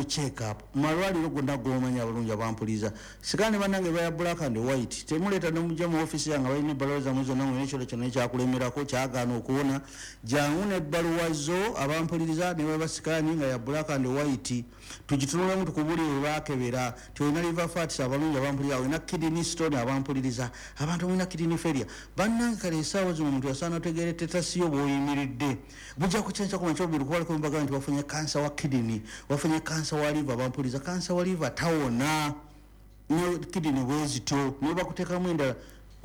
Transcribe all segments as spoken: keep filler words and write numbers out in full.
General check up malwaliro gonna gomanya abalungi abampuliza sikane bannange baya black and white temuleeta nomujja mu office yange balina ebbaluwa zammwe zonna mulina ekiro kyonna ekyakulemerako kyagaana okuwona jangu n'ebbaluwa zo abampuliriza ne baba sikaani nga ya black and white tugitunulemu tukubulire bwe baakebera ti olina liver fats abalungi abampuliriza olina kidney stone abampuliriza abantu mulina kidney failure bannange kale essaawa zino omuntu yasaana otegeere tetasiyo bw'oyimiridde bujja kukyenkya ku makya obubiri kubaliko mbaga nti wafunye kansa wa kidney wafunye kansa wa liver abampuliriza kansa wa liver tawona ne kidney bwezityo ne bakuteekamu endala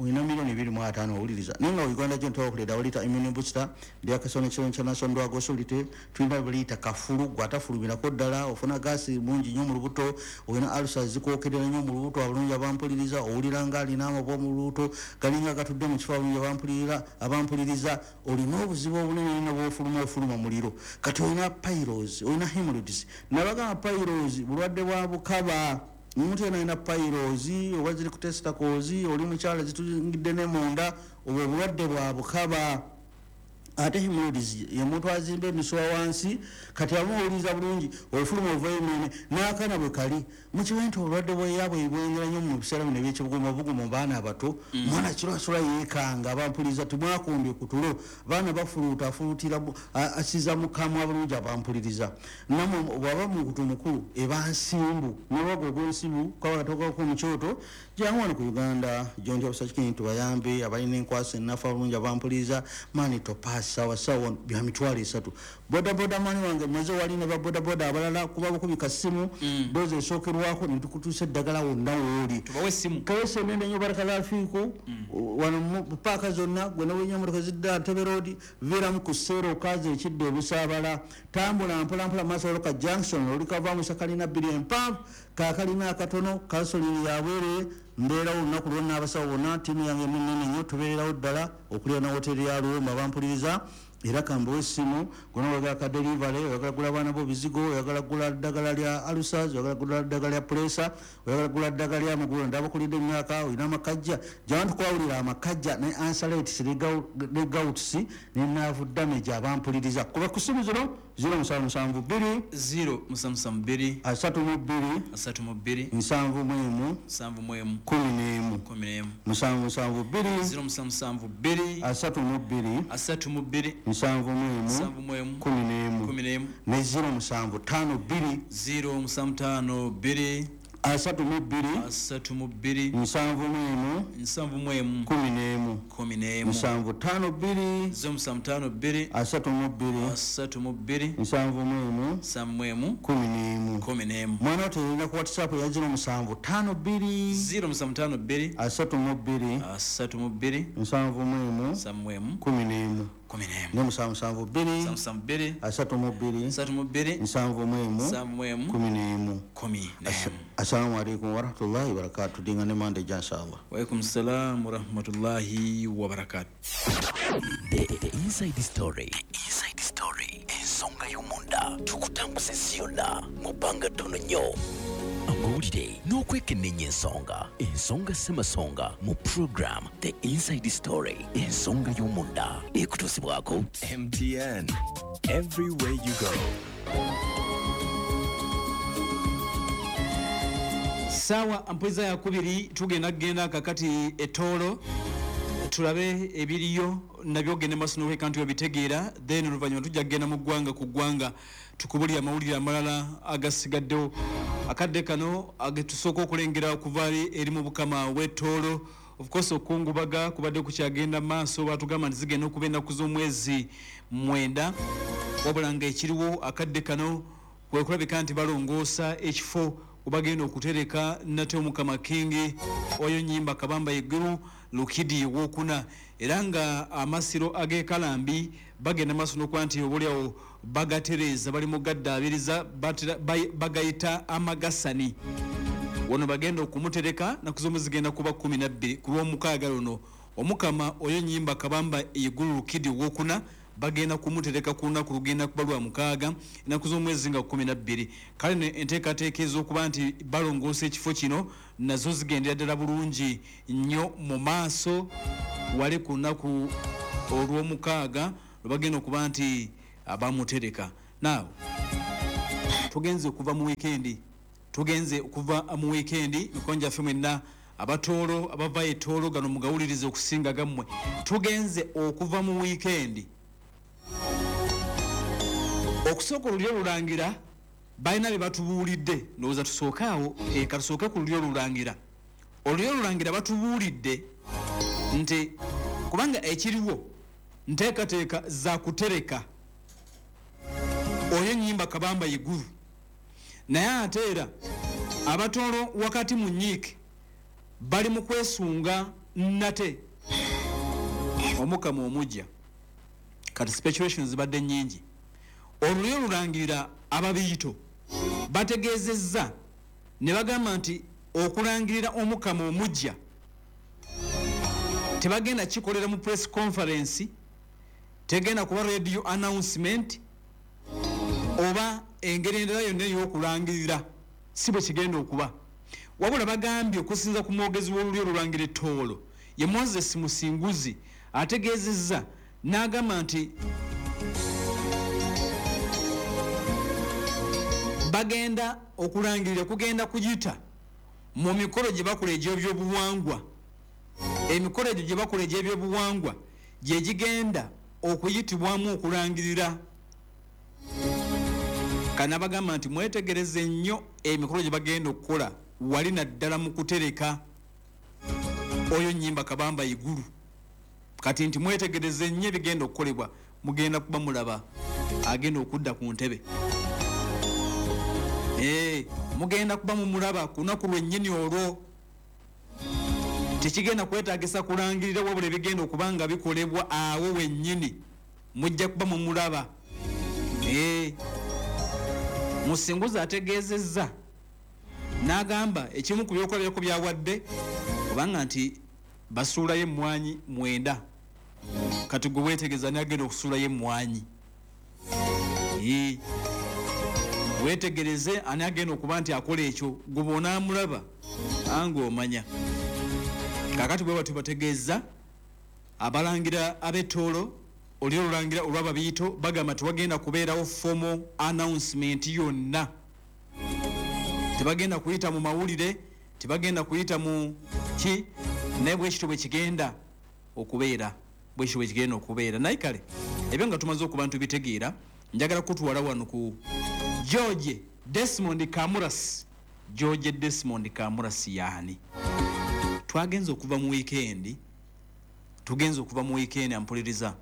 olina milioni ebiri mu ataano owuliriza naye nga Uganda gyo ntobakulira walita immune booster lyakasona kiro international drug authority tulina buliyita kafulu gwatafulumirako ddala ofuna gaasi mungi nnyo mu lubuto olina ulcers zikwokerera nnyo mu lubuto abalungi abampuliriza owulira nga alina amabwa mu lubuto galinga gatudde mu kifo abalungi abampulirira abampuliriza olina obuzibu obunene nnyo bw'ofuluma ofuluma muliro kati olina piles olina hemorrhoids nabagamba piles bulwadde bwa bukaba omuntu yenna alina piles oba ziri ku testicles oli mukyala zituyingidde ne munda obwo obulwadde bwa bukaba ate hemorrhoids ye muntu azimba emisuwa wansi kati amuwuliriza bulungi ofuluma ovayo emene n'akaana bwe kali mukimanyi nti obulwadde bweyabwe bwengera nnyo mu biseera bino ebyekibugumabugumu mu baana abato mwana kiro asula yeekanga abampuliriza timwakumbye ku tulo baana bafuluuta afuluutira asiza mukamwa bulungi abampuliriza namwe bw'aba muntu mukulu eba nsimbu n'olwago ogw'ensimbu kabakatokako mu kyoto jangu wano ku Uganda Joint Officer Clinic tubayambe abalina enkwasa ennafu abulungi abampuliriza mani topass sawa sawa bya mitwalo esatu bodaboda mani wange maze wali ne babodaboda abalala kuba bukubika ssimu dozi esookerwako ne tukutuusa eddagala wonna wooli tubawe essimu kese nende nnyo barakala fiiku wano mu paaka zonna gwe newenya emotoka zidda Ntebe Road viiramu ku seero okaza ekidda ebusaabala tambula mpolampola maaso waliwo ka junction olikavaamu sakalina bbiri empanvu kakalina akatono kansolini yabwereere mbeerawo olunaku lwonna abasawo bonna ttiimu yange munene nnyo tubeererawo ddala okulira na woteeri ya Luwumba bampuliriza era kambawe essimu gona oyagala ka delivery oyagala gula baana bo bizigo oyagala gula ddagala lya ulcers oyagala gula ddagala lya pressure oyagala gula ddagala lya magulu ndabakulidde emyaka olina amakajja jangu tukwawulira amakajja ne ulcers ne gouts ne nerve damage abampuliriza kuba ku ssimu zino zero musanvu musanvu bbiri zero musanvu musanvu bbiri asatu mu bbiri asatu mu bbiri nsanvu mu emu nsanvu mu emu kumi n'emu kumi n'emu musanvu musanvu bbiri zero musanvu musanvu bbiri asatu mu bbiri asatu mu bbiri nsanvu mu emu nsanvu mu emu kumi n'emu kumi n'emu ne zero musanvu ttaano bbiri zero musanvu ttaano bbiri asatu mu bbiri asatu mu bbiri nsanvu mu emu nsanvu mu emu kumi n'emu kumi n'emu musanvu ttaano bbiri zero musanvu ttaano bbiri asatu mu bbiri asatu mu bbiri nsanvu mu emu nsanvu mu emu kumi n'emu kumi n'emu mwana oterera ku WhatsApp ya zero musanvu ttaano bbiri zero musanvu ttaano bbiri asatu mu bbiri asatu mu bbiri nsanvu mu emu nsanvu mu emu kumi n'emu kumi n'emu ne musanvu musanvu bbiri musanvu musanvu bbiri asatu mu bbiri asatu mu bbiri nsanvu mu emu nsanvu mu emu kumi n'emu kumi n'emu. Assalamu alaikum warahmatullahi wabarakatuh. Dinga ne mande ja inshallah. Wa alaikum salam warahmatullahi wabarakatuh. The, the inside story. The inside story. Ensonga y'omunda tukutambuza ensi yonna mu bbanga ttono nnyo. Amawulire n'okwekenneenya ensonga. Ensonga ssemasonga mu program The Inside Story. Ensonga y'omunda ekutuusibwako M T N. Everywhere you go. Sawa ampoza ya kubiri tugenda kugenda kakati etoolo tulabe ebiriyo nabyo gende maaso n'okweka nti obitegeera then oluvannyuma tujja kugenda mu ggwanga ku ggwanga tukubulire amawulire amalala agasigaddewo. Akadde kano agetusooka okulengera okuva eri mu bukama w'ettoolo. Of course okungubaga kubadde kukyagenda maaso batugamba nti zigenda okuba ennaku z'omwezi mwenda wabula nga ekiriwo akadde kano kwe kulabika nti balongoosa ekifo obagenda okutereka nate Omukama King oyo Nyimba Kabamba Iguru Lukidi wokuna era nga amasiro ag'ekalambi bagenda maaso n'okuba nti obuliawo bagatereeza bali mu gaddaabiriza bagayita amagasani wano bagenda okumutereka naku z'omwezi zigenda kuba kkumi na bbiri ku lw'omukaaga luno. Omukama oyo Nyimba Kabamba Iguru Lukidi wokuna bagenda kumutereka ku lunaku lugenda kuba lwa mukaaga ennaku z'omwezi nga kkumi na bbiri. Kale enteekateeka ez'okuba nti balongoosa ekifo kino nazo zigendera ddala bulungi nnyo mu maaso wali ku lunaku olw'omukaaga lwe bagenda okuba nti bamutereka. Now Tugenze okuva mu weekend, tugenze okuva mu weekend, mikwano gyaffe mwenna abatoolo abava etoolo gano mugawulirize okusinga gammwe. Tugenze okuva mu weekend. Okusooka olulyo olulangira balina bye batubuulidde, ndowooza tusooke awo, eh, katusooke ku lulyo olulangira. Olulyo olulangira batubuulidde nti kubanga ekiriwo nteekateeka za kutereka oyo ennyimba Kabamba Iguru, naye ate era abatoolo wakati mu nnyiike bali mu kwesunga nate omukama omujja. Kati speculations zibadde nnyingi. Olulyo olulangirira ababiito bategeezezza ne bagamba nti okulangirira omukama omujja tebagenda kikolera mu press conference, tegenda kuba radio announcement oba engeri endala yonna ey'okulangirira, si bwe kigenda okuba. Wabula bagambye okusinza ku mwogezi w'olulyo olulangira ettoolo ye Moses Musinguzi, ategeezezza n'agamba nti bagenda okulangirira kugenda kuyita mu mikolo gye bakola egy'ebyobuwangwa. Emikolo egyo gye bakola egy'ebyobuwangwa gye gigenda okuyitibwamu okulangirira. Kana bagamba nti mwetegereze nnyo emikolo gye bagenda okukola wali naddala mu kutereka oyo nnyimba Kabamba Iguru. Kati nti mwetegereze nnyo ebigenda okukolebwa, mugenda kuba mulaba agenda okudda ku ntebe. Eh, mugenda kuba mumulaba ku lunaku lwennyini olwo. Tekigenda kwetaagisa kulangirira, wabula ebigenda okuba nga bikolebwa awo wennyini mujja kuba mumulaba. Eh, Musinguzi ategeezezza n'agamba ekimu ku byokulabirako byawadde kubanga nti basuulayo emmwanyi mwenda. Kati gwe weetegereza n'agenda okusuulayo emmwanyi. Eh, weetegereze ani agenda okuba nti akola ekyo, gwe bw'onaamulaba ange omanya. Kaakati bwe batyo bategeeza abalangira ab'ettoolo, oli olulangira olw'ababiito bagamba tewagenda kubeerawo formal announcement yonna, tebagenda kuyita mu mawulire, tebagenda kuyita mu ki, naye bwe kityo bwe kigenda okubeera, bwe kityo bwe kigenda okubeera. Naye kale ebyo nga tumaze okuba ntubitegeera, njagala kutwala wano ku George Desmond Kamuras. George Desmond Kamuras yaani? Twagenze okuva mu weekend, tugenze okuva mu weekend ampuliriza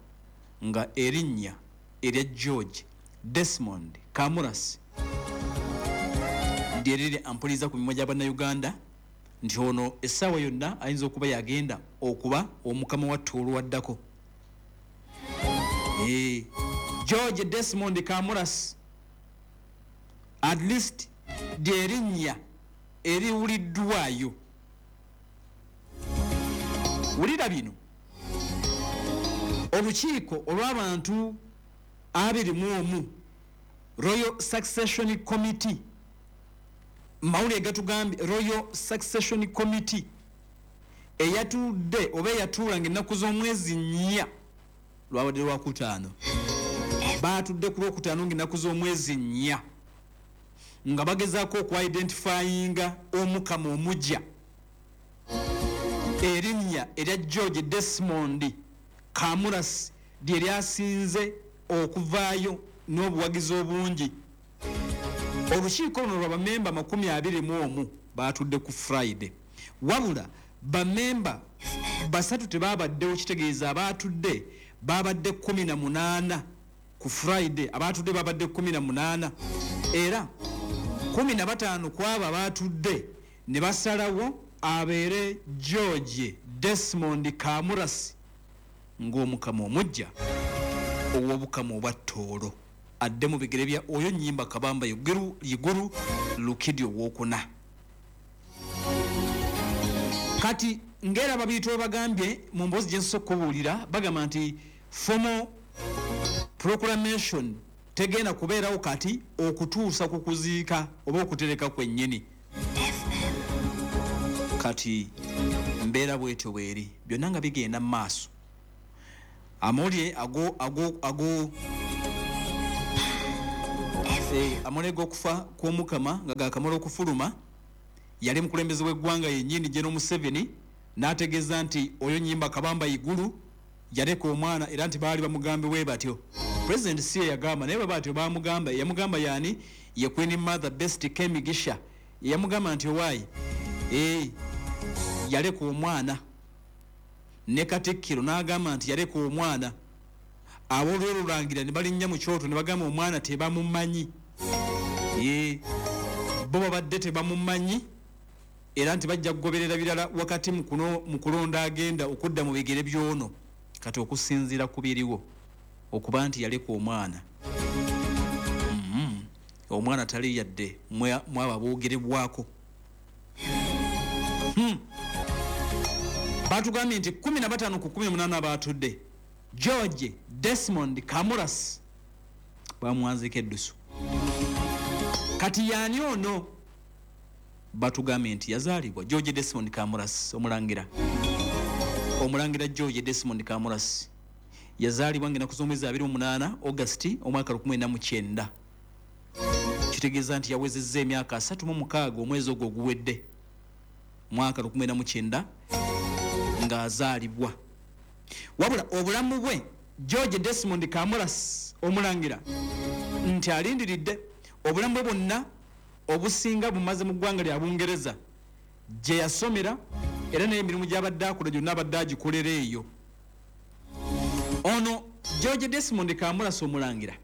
nga erinnya erya George Desmond Kamuras lyeriri ampuliriza ku mimwa gya Bannayuganda nti ono essaawa yonna ayinza okuba yagenda okuba omukama wa Tooro waddako. Eh, George Desmond Kamuras at least lyerinnya eriwuliddwayo. Wulira bino. Olukiiko olw'abantu abiri mu omu, Royal Succession Committee, mawulire gatugambye Royal Succession Committee eyatudde oba eyatuula ng'ennaku z'omwezi nnya lwabadde lwakutaano, baatudde ku lwokutaano ng'ennaku z'omwezi nnya nga bagezaako okwidentifyinga omukama omujja. Erinnya erya George Desmond Kamuras lye lyasinze okuvaayo n'obuwagizi obungi. Olukiiko luno lwa bamemba makumi abiri mu omu baatudde ku Friday, wabula bamemba basatu tebaabaddewo, kitegeeza abaatudde baabadde kkumi na munaana ku Friday, abaatudde baabadde kkumi na munaana, era kkumi na bataano ku abo abaatudde ne basalawo abeere George Desmond Kamuras ng'omukama omujja ow'obukama obwa Tooro, adde mu bigere bya oyo nnyimba Kabamba Iguru, Iguru Lukidi owokuna. Kati ng'era ababiito bagambye mu mboozi gye nsoose okubuulira, bagamba nti formal proclamation tegenda kubeerawo kati okutuusa ku kuziika oba okutereka kwennyini. Kati mbeera bwetyo bweri, byonna nga bigenda mu maaso. Amawulire ago, ago, ago Eh, amawulire g'okufa kw'omukama nga gakamala okufuluma, yali mukulembeze w'eggwanga yennyini General Museveni n'ategeeza nti oyo Nyimba Kabamba Igulu yaleka omwana, era nti baali bamugambe bwe batyo. President si ye yagamba, naye bwe batyo bamugamba. Yamugamba yaani? Ye Queen Mother Best Kemigisha yamugamba nti owaayi, eh, yaleka omwana. Ne Katikkiro n'agamba nti yaleka omwana. Aboolwolulangira ne balinnya mu kyoto ne bagamba omwana tebamumanyi. Ye bo babadde tebamumanyi, era nti bajja kugoberera birala wakati mu kuno, mu kulonda agenda okudda mu bigere by'ono. Kati okusinziira ku biriwo okuba nti yaleka omwana, mm-hmm. omwana tali yadde mwabo aboogerebwako. Hmm. Batugambye nti kumi na bataano ku kumi na munaana abaatudde, George Desmond Kamuras bamuwanziika eddusu. Kati yaani ono? Batugambye nti yazaalibwa George Desmond Kamuras omulangira. Omulangira George Desmond Kamuras yazaalibwa ng'ennaku z'omwezi abiri mu munaana August omwaka lukumi na mu kyenda. Kitegeeza nti yawezezza emyaka asatu mu mukaaga omwezi ogwo oguwedde, mwaka lukumi na mu kyenda ng'azaalibwa. Wabula obulamu bwe George Desmond Kamuras omulangira nti alindiridde obulamu bwe bwonna obusinga bumaze mu ggwanga lya Bungereza gye yasomera, era n'emirimu gy'abadde akola gyonna abadde agikolera eyo. Ono George Desmond Kamuras omulangira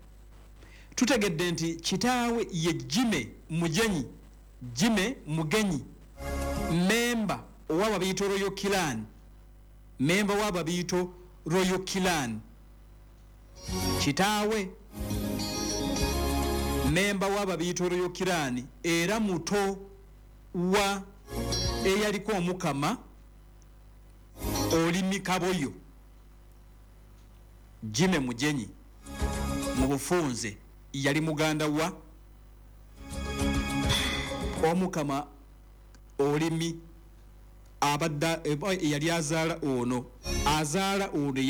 tutegedde nti kitaawe ye Jime Mugenyi, Jime Mugenyi, memba ow'Ababiito Royal Clan, memba w'Ababiito Royal Clan. Kitaawe memba w'Ababiito Royal Clan, era muto wa eyaliko omukama Olimi Kaboyo. Jime Mugenyi mu bufunze yali muganda wa omukama Olimi abadde eyali azaala ono, azaala ono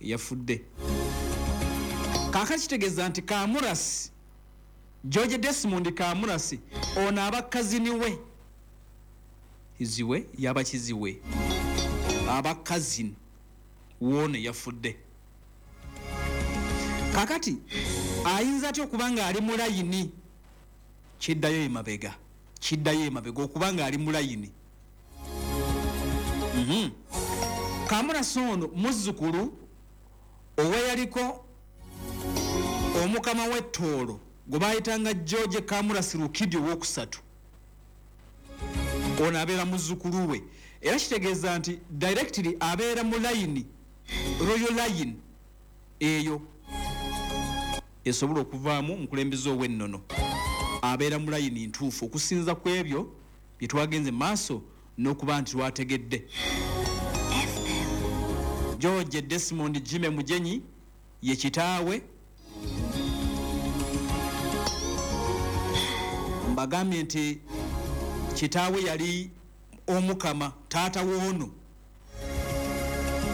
eyafudde. Kaakati kitegeeza nti Kamuras, George Desmond Kamuras ono aba kazini we, kiziwe yaba kiziwe, aba kazini w'ono eyafudde. Kaakati ayinza atya okuba nga ali mu layini? Kiddayo emabega, kiddayo emabega okuba nga ali mu layini. Mm-hmm. Kamuras ono muzzukulu oweyaliko omukama w'ettoolo gwe baayitanga George Kamuras Rukidi owookusatu. Ono abeera muzzukulu we, era kitegeeza nti directly abeera mu layini, royal line eyo esobola okuvaamu omukulembeze ow'ennono. Abeera mu layini ntuufu okusinza ku ebyo bye twagenze mu maaso n'okuba nti twategedde. George Desmond Jime Mugenyi ye kitaawe. Mbagambye nti kitaawe yali omukama, taata w'ono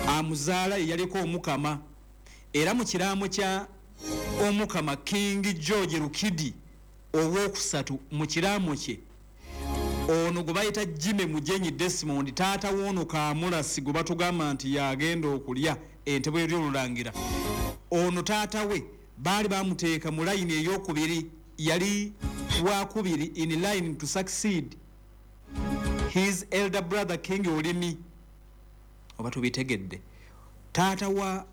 amuzaala yaliko omukama, era mu kiraamo kya omukama King George Rukidi owookusatu, mu kiraamo kye ono gwe bayita Jime Mugenyi Desmond, taata w'ono Kamulasi gwe batugamba nti yagenda okulya entebe y'olulangira, ono taata we baali bamuteeka mu layini ey'okubiri, yali wakubiri in line to succeed his elder brother King Olimi. Oba tubitegedde, taata wa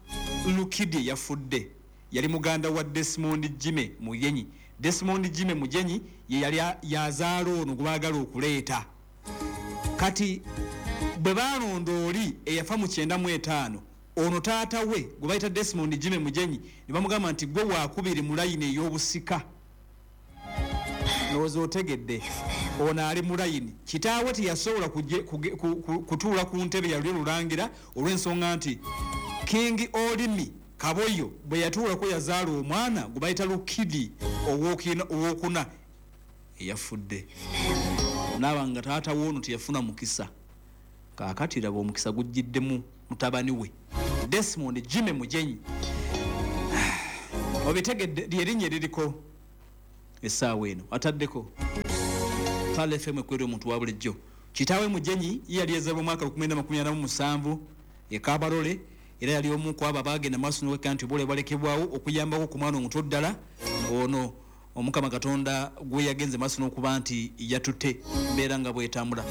Lukidi yafudde yali muganda wa Desmond Jime Mugenyi. Desmond Jime Mugenyi ye yali yazaala ono gwe baagala okuleeta. Kati bwe baalonda oli eyafa mu kyenda mu etaano, ono taata we gwe bayita Desmond Jime Mugenyi ne bamugamba nti gwe waakubiri mu layini ey'obusika. Ndowooza otegedde, ono ali mu layini. Kitaawe teyasobola kutuula ku ntebe yali olulangira olw'ensonga nti King Olimi Kaboyo bwe yatuulako yazaala omwana gwe bayita Lukidi owookuna eyafudde. Naaba nga taata w'ono teyafuna mukisa. Kaakati laba omukisa gujjiddemu mutabani we Desmond Jime Mugenyi. Obitegedde, lyerinnya eririko Essaawa eno ataddeko Pearl F M ekwera omuntu wa bulijjo. Kitaawe Mugenyi ye yali yazaalibwa mu mwaka lukumi makumi ana mu musanvu e Kabarole, era yali omu ku abo abaagenda maaso n'okweka nti obule bwalekebwawo okuyambako ku mwana omuto ddala ono Omukama Katonda gwe yagenze maaso n'okuba nti yatutte mbeera nga bwetambula.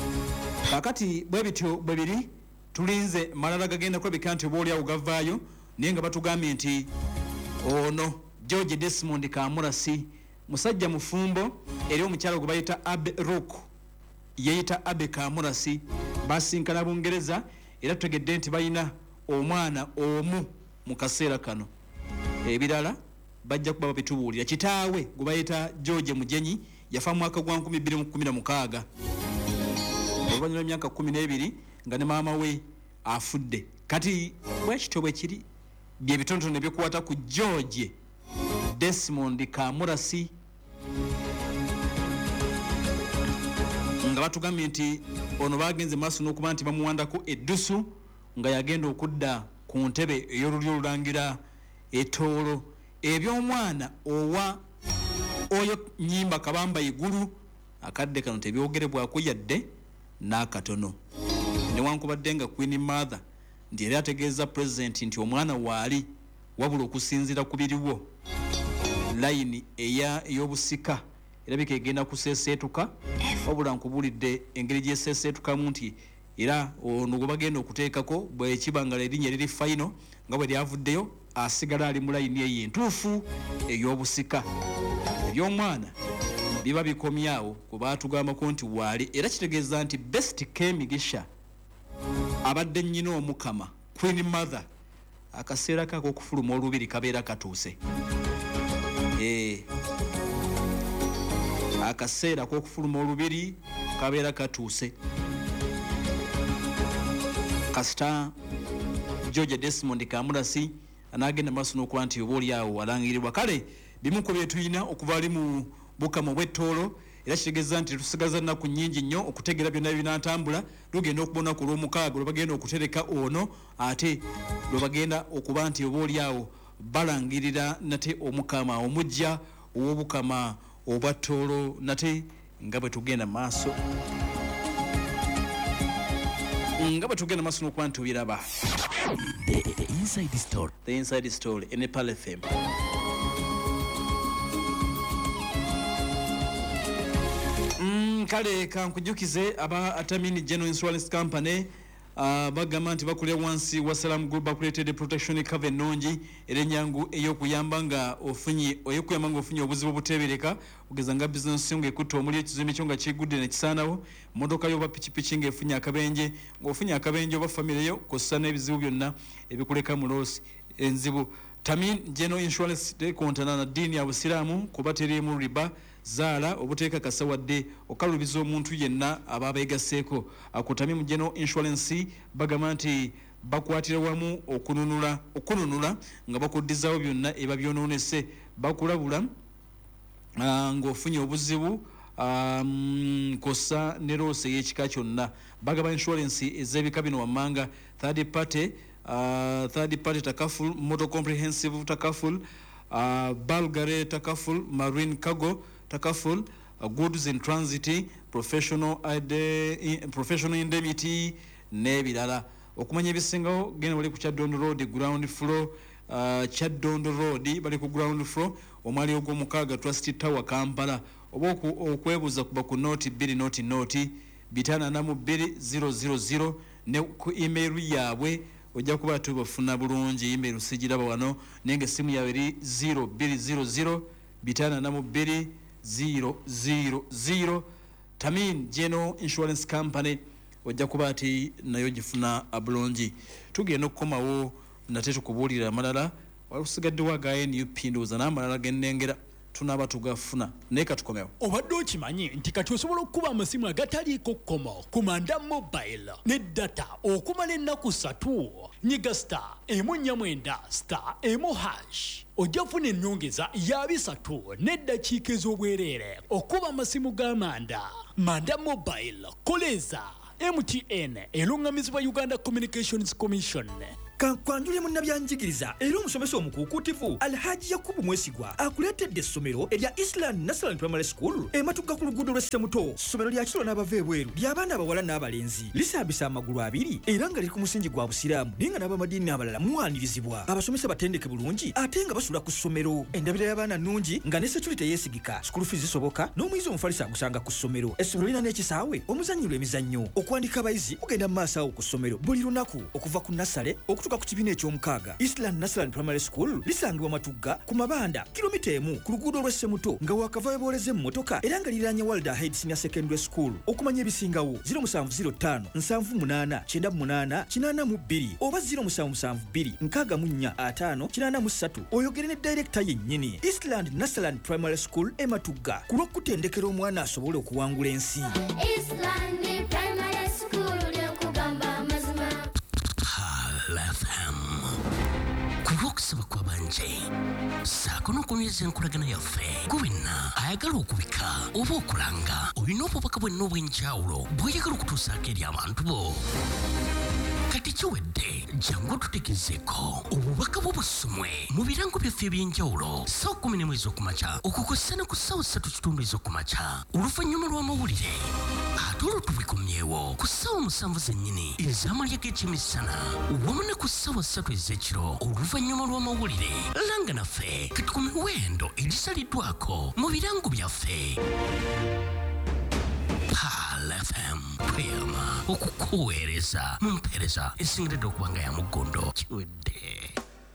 Kaakati bwe bityo bwe biri, tulinze malala gagenda kulabika nti oba oliawo gavaayo, naye nga batugambye nti ono George Desmond Kamurasi musajja mufumbo, eri omukyala gwe bayita Abe Rock, yeeyita Abe Kamurasi, basinkana Bungereza, era tutegedde nti balina omwana omu mu kaseera kano. Ebirala bajja kuba babitubuulira. Kitaawe gwe bayita George Mugenyi yafa mu mwaka gwa nkumi bbiri mu kkumi na mukaaga oluvannyuma lw'emyaka kkumi n'ebiri nga ne maama we afudde. Kati bwekityo bwe kiri, bye bitonotono ebikwata ku George Desmond Kamurasi, nga batugambye nti ono bagenze maaso n'okuba nti bamuwandako eddusu nga yagenda okudda ku ntebe ey'olulyo olulangira Etoolo. Eby'omwana owa oyo Nyimba Kabamba Igulu akadde kano tebyogerebwako yadde n'akatono, newankubadde nga Queen Mother nti era ategeeza pulezidenti nti omwana waali, wabula okusinziira ku biriwo layini ey'obusika erabika egenda kuseeseetuka, wabula nkubuulidde engeri gy'eseeseetukamu nti era ono gwe bagenda okuteekako bwe kiba nga erinnya liri fayino nga bwe lyavuddeyo asigala ali mu layini eyo entuufu ey'obusika. Eby'omwana biba bikomyawo ku baatugambako nti waali, era kitegeeza nti Best Kemigisha abadde nnyina Omukama Queen Mother akaseera ke ak'okufuluma olubiri kabeera katuuse. Eh, akaseera ak'okufuluma olubiri kabeera katuuse. Kasita George Desmond Kamurasi anagenda maaso n'okuba nti oba oli awo alangirirwa. Kale bimu ku bye tulina okuva ali mu Bukama obw'Ettoolo, era kitegeeza nti tusigaza nnaku nnyingi nnyo okutegeera byonna ebinaatambula. Lugenda okubona ku lw'omukaaga lwe bagenda okutereka ono, ate lwe bagenda okuba nti oba oli awo balangirira nate Omukama omuggya ow'Obukama obwa Ttoolo, nate nga bwe tugenda maaso nga bwe tugenda maaso n'okuba nti obiraba. The, the Inside Story. The Inside Story in Pearl F M. Mm, kale kankujukize aba Atamini General Insurance Company uh, bagamba nti bakulira wansi wa Salam Group, bakuleetedde protection cover ennungi era ennyangu ey'okuyamba nga ofunye ey'okuyamba nga ofunye obuzibu obuteebereka, ogeza nga bizinesi yo ng'ekutte omuli, ekizimbe kyo nga kigudde ne kisaanawo, mmotoka yo oba pikipiki ng'efunye akabenje, ng'ofunye akabenje oba famire yo kw'ossa n'ebizibu byonna ebikuleka mu loosi enzibu. Tamin General Insurance tekontana na ddiini ya Busiraamu kuba teriimu riba, zaala obuteekakasa wadde okalubiza omuntu yenna aba abeegasseeko. Ku Tamim General Insurance bagamba nti bakwatira wamu okununula okununula nga bakuddizaawo byonna eba byonoonese, bakulabula ng'ofunye obuzibu kw'ossa ne loosi ey'ekika kyonna. Bagaba insurance ez'ebika bino wammanga: third party, uh, third party takaful, motor comprehensive takaful, uh, Bulgari takaful, marine cargo takaful, uh, goods in transit, professional, ide, professional indemnity n'ebirala. Okumanya ebisingawo genda bali ku Kyaddondo Road ground floor, uh, Kyaddondo Road bali ku ground floor omwali ogw'omukaaga Trust Tower Kampala, oba okwebuuza kuba ku noti bbiri noti noti bitaano ana mu bbiri zero zero zero ne ku email yaabwe ojja kuba tubafuna bulungi. Email sigiraba wano, naye nga essimu yaabwe eri zero bbiri zero zero bitaano ana mu bbiri zero zero zero. Tamin General Insurance Company ojja kuba ati nayo gifuna bulungi. Tugenda okukomawo nate tukubuulira amalala, walusigaddewo aga N U P ndowooza n'amalala g'ennengera tunaaba tugafuna, naye katukomewo. Obadde okimanyi nti kati osobola okukuba amasimu agataliiko kkomo ku Manda Mobile ne data okumala ennaku ssatu? Nyiga star emu nnya mwenda star emu hash ojja kufuna ennyongeza ya bisatu n'eddakiika ez'obwereere okuba amasimu ga Manda. Manda Mobile, koleza M T N eruŋŋamizibwa Uganda Communications Commission. Kankwanjule munnabyanjigiriza era omusomesa omukuukuutivu Alhaji Yakubu Mwesigwa akuleetedde essomero erya Island National Primary School ematuga ku luguudo lw'e Ssemuto. Ssomero lya kisulo n'abava ebweru, ly'abaana abawala n'abalenzi, lisambisa amagulu abiri era nga liri ku musingi gwa Busiraamu, naye nga n'abamadiini abalala muwanirizibwa. Abasomesa batendeke bulungi ate nga basula ku ssomero. Endabira y'abaana nnungi nga ne security yeesigika. School fees zisoboka n'omuyizi omufalisi agusanga ku ssomero. Essomero lirina n'ekisaawe omuzannyirwa emizannyo. Okuwandika abayizi kugenda mu maaso awo ku ssomero buli lunaku okuva ku nursery okutuuka ku kibiina eky'omukaaga. Island National Primary School lisangibwa Matugga ku Mabanda, kilomita emu ku luguudo lw'e Ssemuto nga wakava webooleza emmotoka, era nga liriraanye World Ahead Senior Secondary School. Okumanya ebisingawo zero musanvu zero ttaano nsanvu munaana kyenda munaana kinaana mu bbiri oba zero musanvu musanvu bbiri nkaaga mu nnya ataano kinaana mu ssatu, oyogere ne director yennyini. Eastland National Primary School e Matugga, ku lw'okutendekera omwana asobole okuwangula ensi. Eastland Primary School, lyokugamba amazima. Pearl F M, ku lw'okusaba kw'abangi ssaako n'okunyweza enkolagana yaffe, gwe wenna ayagala okubika oba okulanga, olina obubaka bwenna obw'enjawulo bw'oyagala okutuusaako eri abantu bo, kati kiwedde. Jangu otutegezeeko obubaka bwo busomwe mu birango byaffe eby'enjawulo ssaawa kumi n'emu ez'okumakya okukosa ne ku ssaawa ssatu kitundu ez'okumakya oluvannyuma lw'amawulire, ate olwo tubikomyewo ku ssaawa musanvu zennyini ez'amalya g'ekyemisana wamu ne ku ssaawa ssatu ez'ekiro oluvannyuma lw'amawulire. Langa naffe kati ku miwendo egisaliddwako mu birango byaffe. Pearl F M, tweyama okukuweereza mu mpeereza esingiridde okuba nga ya muggondo. Kiwedde.